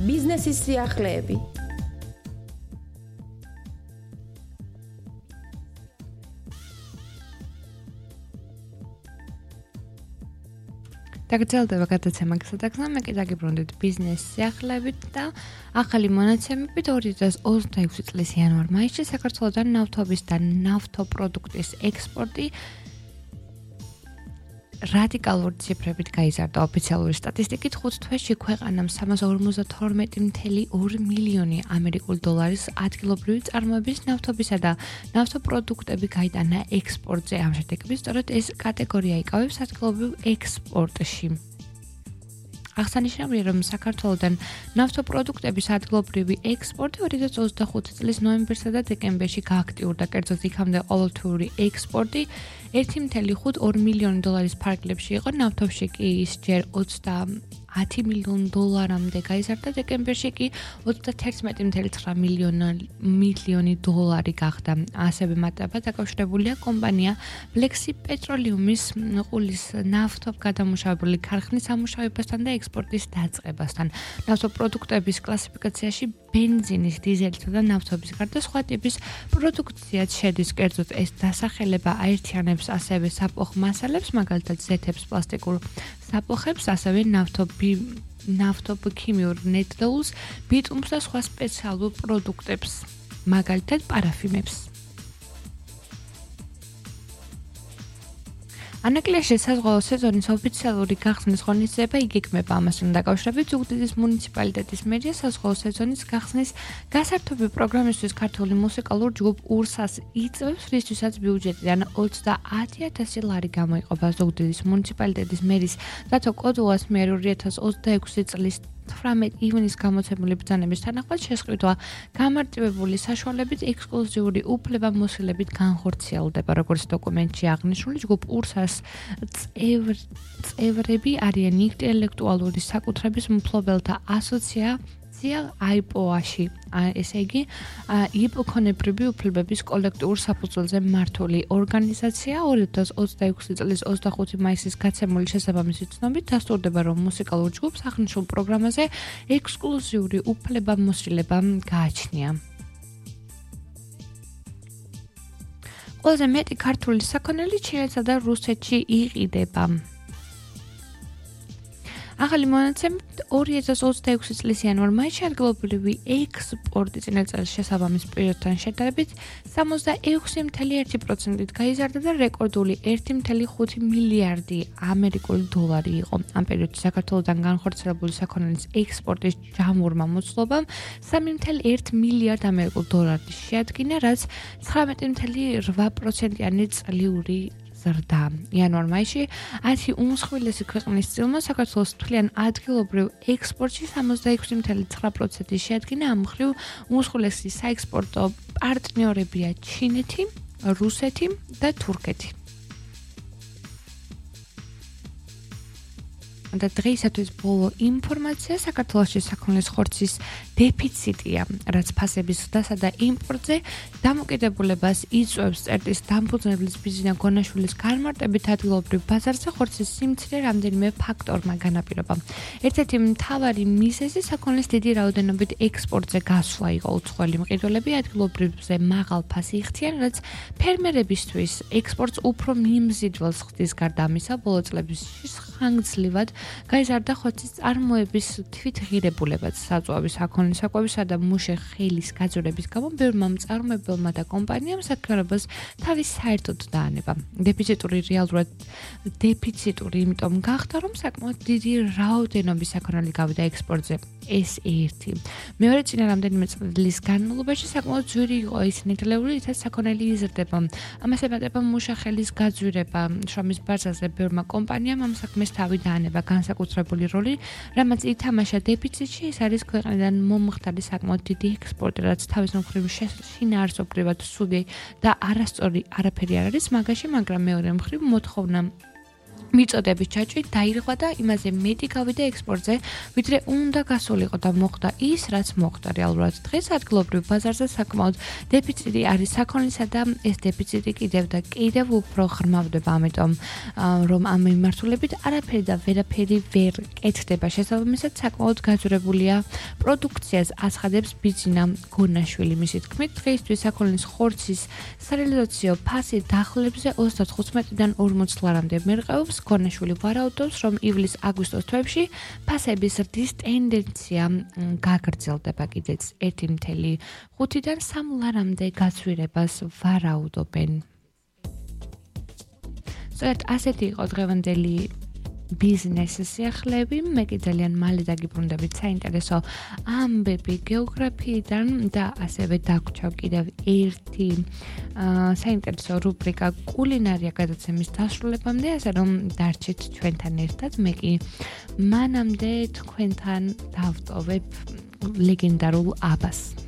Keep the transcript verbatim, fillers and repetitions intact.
ბიზნესის სიახლეები. დაგრძელდება გადაცემა გასატაქსა მე კი დაგიბრუნდით ბიზნეს სიახლეებით და ახალი მონაცემებით ორი ათას ოცდაექვსი წლის იანვარ-მაისში საქართველოსთან ნავთობის და ნავთობპროდუქტის ექსპორტი რადიკალური ციფრებით გაიზარდა. ოფიციალური სტატისტიკით ხუთ თვეში ქვეყანამ სამას ორმოცდათორმეტი წუთი ორი მილიონი ამერიკული დოლარის ადგილობრივი წარმოების ნავთობისა და ნავთობპროდუქტები გაიტანა ექსპორტზე. ამ შედეგებით სწორედ ეს კატეგორია იკავებს ადგილობრივ ექსპორტში. აღსანიშნავია, რომ საქართველოსთან ნავთობპროდუქტების ადგილობრივი ექსპორტი ორი ათას ოცდახუთი წლის ნოემბერსა და დეკემბერში გააქტიურდა, კერძოდ იქამდე ყოველთვიური ექსპორტი ერთი წუთი ორი მილიონი დოლარის ფარგლებში იყო, ნავთობში კი ის ჯერ ოცდაათი მილიონი დოლარამდე გაიზარდა, დეკემბერში კი ოცდათერთმეტი წუთი ცხრა მილიონი დოლარი გახდა. ასევე მატება დაკავშირებულია კომპანია Flexi Petroleum-ის ყულის ნავთობგადამუშავებელი ქარხნის ამუშავებასთან და ექსპორტის დაწყებასთან. ნავთობპროდუქტების კლასიფიკაციაში ბენზინის, დიზელითა და ნავთობის გარდა სხვა ტიპის პროდუქციაც შედის, კერძოდ ეს დასახელება აერთიანებს ასევე საფოხ მასალებს, მაგალითად ზეთებს, პლასტიკურ საფოხებს, ასევე ნავთობი ნავთობქიმიურ ნედლეულს, ბიტუმს და სხვა სპეციალურ პროდუქტებს, მაგალითად პარაფინებს. ანაკლიაში საზღვაო სეზონის ოფიციალური გახსნის ღონისძიება იგეგმება. ამასთან დაკავშირებით ზუგდიდის მუნიციპალიტეტის მერია საზღვაო სეზონის გახსნის გასართობი პროგრამისთვის ქართული მუსიკალურ ჯგუფ ურსას იწვევს, რისთვისაც ბიუჯეტიდან ოცდაათი ათასი ლარი გამოიყოფა. ზუგდიდის მუნიციპალიტეტის მერის დათო კოდუას მიერ ორი ათას ოცდაექვსი წლის თვრამეტი ივნის გამოცემული ბრძანების თანახმად შესყიდვა გამარტივებული საშუალებით ექსკლუზიური უფლებამოსილებით განხორციელდება. როგორც დოკუმენტში აღნიშნული, ჯგუფ ურსას წევრები არიან ინტელექტუალური საკუთრების მფლობელთა ასოციაცია აიპო-აში, ესე იგი იპოქონებრივი უფლებების კოლექტიურ საფუძველზე მართული ორგანიზაცია. ორი ათას ოცდაექვსი წლის ოცდახუთი მაისის გაცემული შესაბამისი ცნობით დასტურდება, რომ მუსიკალურ ჯგუფს აღნიშნულ პროგრამაზე ექსკლუზიური უფლებამოსილება გააჩნია. ყველაზე მეტი ქართული საქონელი ჩინეთსა და რუსეთში იყიდება. ახალი მონაცემით ორი ათას ოცდაექვსი წლის იანვარ-მაისში ადგილობრივი ექსპორტი წინა წელს შესაბამის პერიოდთან შედარებით სამოცდაექვსი წუთი ერთი პროცენტით გაიზარდა და რეკორდული ერთი წუთი ხუთი მილიარდი ამერიკული დოლარი იყო. ამ პერიოდში საქართველოსთან განხორციელებული საქონელის ექსპორტის ჯამურმა მოცულობამ სამი წუთი ერთი მილიარდ ამერიკულ დოლარი შეადგინა, რაც ცხრამეტი წუთი რვა პროცენტიანი წლიური ზრდა. იანვარ-მაისში ათი უმსხვილესი ქვეყნის წილმა საქართველოს თვლიან ადგილობრივ ექსპორტში სამოცდაექვსი წუთი ცხრა პროცენტი შეადგინა. ამ მხრივ უმსხვილესი საექსპორტო პარტნიორებია ჩინეთი, რუსეთი და თურქეთი. და დღეისათვის ბოლო ინფორმაცია საქართველოში საქონლის ხორცის დეფიციტია, რაც ფასების ზრდასა და იმპორტზე დამოკიდებულებას იწვევს. წერტის დამფუძნებლის ბიზნა გონაშვილის განმარტებით ადგილობრივ ბაზარზე ხორცის სიმცირე რამდენიმე ფაქტორმა განაპირობა. ერთ-ერთი მთავარი მიზეზი საქონლის დიდი რაოდენობით ექსპორტზე გასვლა იყო. უცხოელი მყიდველები ადგილობრივზე მაღალ ფასი იხდიან, რაც ფერმერებისთვის ექსპორტს უფრო მიმზიდველს ხდის. გარდა ამისა, ბოლო წლებში ხანგრძლივად გაიზარდა ხორცის წარმოების თვითღირებულებაც. საწვავის, საქონლის საკვებისა და მუშე ხელის გაძვირების გამო ბევრმა მწარმოებელმა და კომპანიამ საქმიანობას თავის საერთოდ დაანება. დეფიციტური რეალურად დეფიციტური იმიტომ გახდა, რომ საკმაოდ დიდი რაოდენობის საქონელი გავიდა ექსპორტზე. ეს ერთი. მეორე წინა რამდენიმე წლის განმავლობაში საკმაოდ ძვირი იყო ის ნედლეული, რითაც საქონელი იზრდება. ამას ემატება მუშა ხელის გაძვირება. შრომის ბაზარზე ბევრმა კომპანიამ ამ საქმეს თავი დაანება. განსაკუთრებული როლი, რამაც ითამაშა დეფიციტში, ეს არის ქვეყნიდან მომხდარი საკმაოდ დიდი ექსპორტი, რაც თავის მხრივ შინაარსობრივად ცუდი და არასწორი არაფერი არ არის მაგაში, მაგრამ მეორე მხრივ მოთხოვნა მიწოდების ჩაჭრით დაირღვა და იმაზე მეტი გავიდა ექსპორტზე, ვიდრე უნდა გასულიყო და მოხდა ის, რაც მოხდა რეალურად. დღეს ადგილობრივ ბაზარზე საკმაოდ დეფიციტი არის საქონლისა და ეს დეფიციტი კიდევ და კიდევ უფრო ღრმავდება, ამიტომ რომ ამ მიმართულებით არაფერი და ვერაფერი ვერ კეთდება. შესაბამისად, საკმაოდ გაძვრებულია პროდუქციას აცხადებს ბიძინა გონაშვილი. მისი თქმით, დღეისთვის საქონლის ხორცის სარეალიზაციო ფასი დახლებზე ოცდათხუთმეტიდან ორმოც ლარამდე მერყეობს. გონაშვილი ვარაუდობს, რომ ივლის-აგვისტოს თვეებში ფასების ზრდის ტენდენცია გაგრძელდება. კიდეც ერთი წუთი ხუთიდან სამ ლარამდე გაცვირებას ვარაუდობენ. სწორედ ასეთი იყო დღევანდელი ბიზნესის სიახლეები. მე კი ძალიან მალე დაგიბრუნდებით საინტერესო ამბები გეოგრაფიიდან და ასევე დაგვრჩავ კიდევ ერთი საინტერესო რუბრიკა კულინარია გადაცემის დასრულებამდე, ასე რომ დარჩით ჩვენთან ერთად. მე კი მანამდე თქვენთან დავტოვებ ლეგენდარულ აბას.